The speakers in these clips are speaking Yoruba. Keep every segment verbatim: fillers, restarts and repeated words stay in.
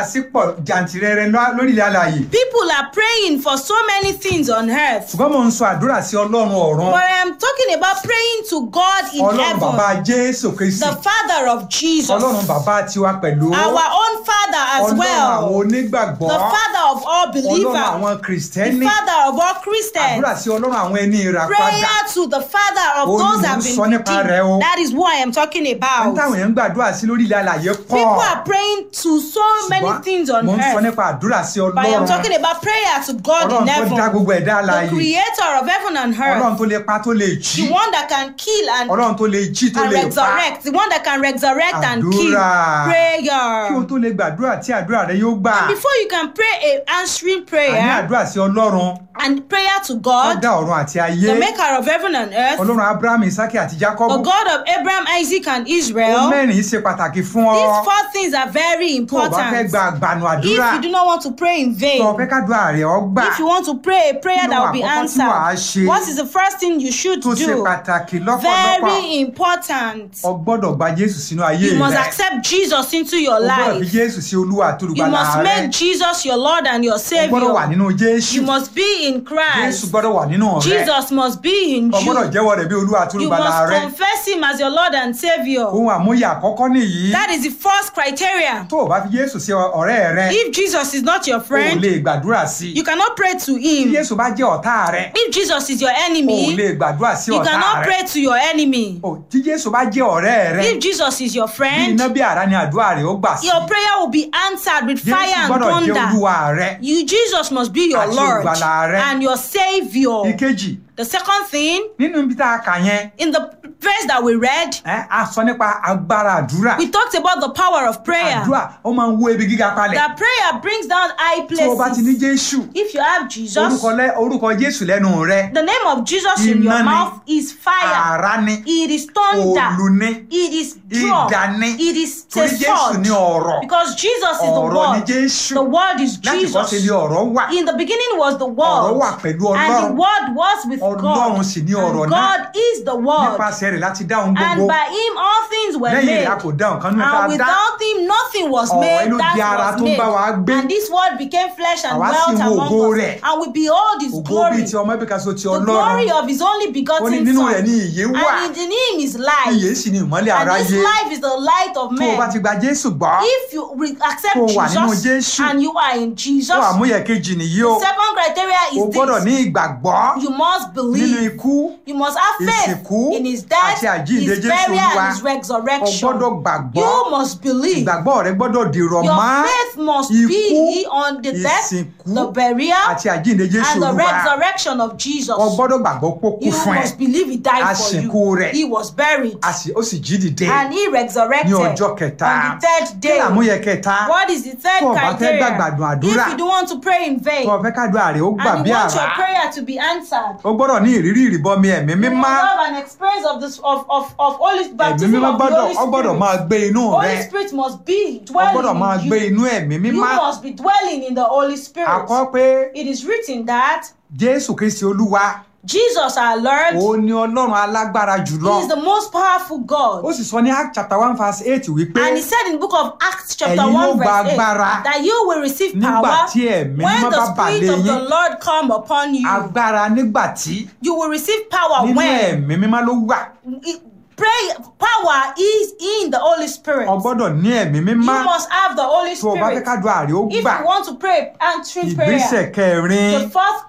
Sí pọ̀ jàǹtìrẹrẹ lórílẹ̀ alààyè. People are praying for so many things on earth. Ṣùgbọ́n mò ń sọ àdúrà sí Ọlọ́run ọ̀run. But I am talking about praying to God in Ọlọ́run heaven, bàbá Jésù Kristi. the Father of Jesus, Ọlọ́run bàbá tiwa pẹ̀lú. our own Father as Ọlọ́run àwọn well, onígbàgbọ́. the Father of all Ọlọ́run believers, àwọn the Kìrìsìtẹ́nì. Father of all Christians. Àdúrà sí Ọlọ́run àwọn ẹni ìràpadà. Prayer to the Father of Ó ní those mò that ń have been sọ nípa rẹ̀ o. redeemed. That is what I am talking Ní about. táwọn èèyàn ń gbàdúrà sí lórílẹ̀ alààyè pọ̀. People are praying to so many Ṣùgbọ́n things on mò ń sọ earth. nípa àdúrà sí But I am Ọlọ́run. talking about prayer to God in Ọlọ́run tó dá heaven, gbogbo ẹ̀dá the alààyè. creator of heaven and Ọlọ́run earth, tó lè pa tó lè jí. the one that can kill and, Ọlọ́run tó lè jí tó and lè pa. resurrect, the one that can resurrect and kill. Àdúrà. Kí o Prayer. tó lè gbàdúrà tí àdúrà rẹ yóò gbà. Before you can pray a answering Àní prayer àdúrà sí Ọlọ́run and prayer to tó God, dá ọ̀run àti ayé. the maker of heaven and earth, Ọlọ́run Abraham, Isaki àti the Jákọ́bù. God of Abraham, Isaac, and Ohun Israel, mẹ́rin yìí ṣe pàtàkì fún ọ. these four things are very Tó o bá fẹ́ important. gba àgbànú àdúrà, If you do not want to pray in vain, tó o fẹ́ kádùá rẹ̀ ó gbà, if you want to pray a prayer Kí ló that will be àkọ́kọ́ tí wàá answered, ṣe what is the first thing you should tó ṣe do? pàtàkì lọ́pọ̀lọpọ̀, Very important. o gbọ́dọ̀ gba Jésù sínú ayé You must rẹ. accept Jesus into your O gbọ́dọ̀ fi life. Jésù sí Olúwa àti You Olùgbàlà must rẹ. make Jesus your Lord and your O gbọ́dọ̀ wà Savior. nínú Jésù. You must be in Jésù Christ. gbọ́dọ̀ wà nínú rẹ. Jesus must be in O gbọ́dọ̀ you. jẹ́wọ́ rẹ̀ bí Olúwa àti You Olùgbàlà must rẹ. confess Him as your Lord and Savior. Ohun àmúyẹ àkọ́kọ́ nìyí. That is the first criteria. Tó o bá fi Jésù sí ọ̀rẹ́ rẹ, If Jesus is not your o ò friend, lè gbàdúrà sí i. you cannot pray to Tí Him. Jésù bá jẹ́ ọ̀tá rẹ, If Jesus is your o ò enemy, lè gbàdúrà sí you ọ̀tá cannot rẹ. pray to your enemy. O, tí Jésù bá jẹ́ ọ̀rẹ́ rẹ, If Jesus is your bí friend, iná bí àrá ni àdúrà rẹ ó gbà sí. your prayer will be answered with Jésù fire and gbọ́dọ̀ jẹ́ thunder. Olúwa rẹ. You, Jesus must be your Àti Lord olùgbàlà rẹ. and your Savior. Ìkejì, The second thing, nínú ibi tá a kà yẹn, in the verse that we read, ẹ́, a sọ nípa agbára àdúrà. we talked about the power of prayer. Àdúrà ó máa ń wó ibi gíga palẹ̀. That prayer brings down high Tó o bá ti ní places. Jésù, If you have Jesus, orúkọ lẹ́- orúkọ Jésù lẹ́nu rẹ, the name of Jesus in Iná your ni. mouth is fire. àrá ni, It is thunder. òòlù ni, It is drum. idà ni. It is a Torí Jésù ni sword. ọ̀rọ̀. Because Jesus is the Ọ̀rọ̀ ni word. Jésù. The word is Láti kọ́ sí Jesus. ni ọ̀rọ̀ wà. In the beginning was the Ọ̀rọ̀ word. wà pẹ̀lú And the Ọlọ́run. word was with Ọlọ́run God. sì ni ọ̀rọ̀ And náà. God is the word. Nípasẹ̀ rẹ̀ láti dá ohun And gbogbo. by him all things were Lẹ́yìn made. rẹ̀ a kò dá nǹkan nínú tá And a dá. without him nothing was Ọ̀rọ̀ made ló di ara that was tó ń bá wa made. gbé. And this word became flesh and Àwa sì dwelt wo among ògo us. rẹ̀. And we behold his Ògo glory. bíi ti ọmọ ẹbí kan ṣoṣo ti The glory Ọlọ́run. of his only Ó ní begotten nínú son. rẹ̀ ni ìyè wà. And in him is life. Ìyè sì ni ìmọ́lẹ̀ And this aráyé. life is the light of Tó o bá ti men. gba Jésù gbọ́, If you re- accept Tó o wà nínú Jesus Jésù. and you are in Jesus, tó àmúyẹ kejì nìyí o. second criteria O is gbọ́dọ̀ this. ní ìgbàgbọ́ You must nínú believe. ikú, You must have faith ìsìnkú in his death, àti àjíǹde his Jésù burial, Olúwa. and his resurrection. O gbọ́dọ̀ gbàgbọ́. You must believe. Ìgbàgbọ́ rẹ gbọ́dọ̀ dìrọ̀ Your mọ́ faith must ikú, be on the death, ìsìnkú the burial, àti àjíǹde Jésù and the Olúwa. resurrection of Jesus. O gbọ́dọ̀ gbàgbọ́ pé ó kú You fún ẹ. must believe he died A for sìnkú you. rẹ̀. He was buried A sì- ó sì jí dìde and he resurrected ní ọjọ́ kẹta. on the third Kí day. làmúyẹ kẹta? What is the third Tó o bá fẹ́ criteria? gbàgbàdùn àdúrà, If you don't want to pray in vain tó o fẹ́ kádùá rẹ̀ ó gbà and bí you want àrá. your prayer to be answered, O gbọ́dọ̀ ní ìrírí ìrìbọmi ẹ̀mí you mímọ́. must have an experience of this of of of Holy Ẹ̀mí baptism mímọ́ of the gbọ́dọ̀ Holy ó gbọ́dọ̀ Spirit. máa gbé inú Holy rẹ. Spirit must be Ó gbọ́dọ̀ máa dwelling gbé in you. inú ẹ̀mí You mímọ́. must be dwelling in the Holy Spirit. A kọ pé It is written that Jésù Kristi Olúwa Jesus our Lord òun ni Ọlọ́run alágbára jùlọ. is the most powerful God. Ó sì sọ ní Act chapter one verse eight wípé And he said in the book of Acts chapter Ẹ̀yin yóò one gba verse eight agbára that you will receive nígbà power tí ẹ̀mí when mímọ́ the bá bà Spirit lé of the yín. Lord come upon you. Agbára nígbà tí You will receive power nínú when ẹ̀mí mímọ́ ló wà. it- pray power is in the Holy Spirit. O gbọ́dọ̀ ní ẹ̀mí You mímọ́. must have the Holy Tó o bá fẹ́ Spirit. kádùá rẹ̀ ó If gbà. you want to pray answering prayer, Ìgbésẹ̀ kẹrin. the fourth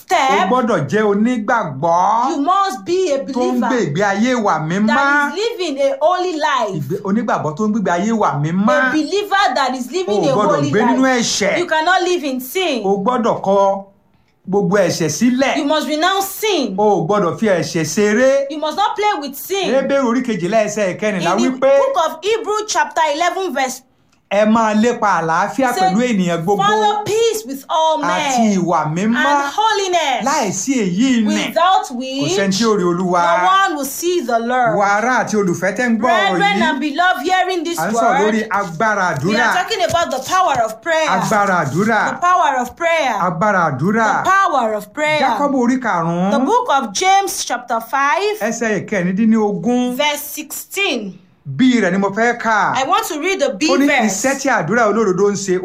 O step, gbọ́dọ̀ jẹ́ onígbàgbọ́ you must be a tó ń gbé believer ìgbé ayé ìwà mímọ́. that is living a holy life. Ìgbé- Onígbàgbọ́ tó ń gbé ayé ìwà mímọ́. A believer that is O living a gbọ́dọ̀ holy gbé nínú life. ẹ̀ṣẹ̀. You cannot live in sin. O gbọ́dọ̀ kọ gbogbo ẹ̀ṣẹ̀ sílẹ̀. You must renounce sin. O ò gbọ́dọ̀ fi ẹ̀ṣẹ̀ ṣeré. You must not play with sin. Hébérù orí kejìlá ẹsẹ̀ In ìkẹrìnlá the wípé book of Hebrew chapter eleven verse ẹ máa lépa àlàáfíà say, pẹ̀lú ènìyàn gbogbo follow peace with all àti men ìwà mímọ́ and holiness, láìsí èyí nì without kò which sẹ́ni tí ó rí Olúwa. no one will see the Lord. Wà ará àti olùfẹ́ tẹ́ ń gbọ́ ọ̀rọ̀ Brethren yìí and beloved, hearing this à ń sọ̀rọ̀ lórí word, agbára we àdúrà are talking about the power of prayer. agbára àdúrà The power of prayer. agbára àdúrà The power of prayer. Jákọ́bù orí karùn-ún The book of James chapter five ẹsẹ̀ ìkẹrìndínlógún verse sixteen. Bí rẹ̀ ni mo fẹ́ kà. I want to read the B Ó ní verse. iṣẹ́ tí àdúrà olódodo ń ṣe ó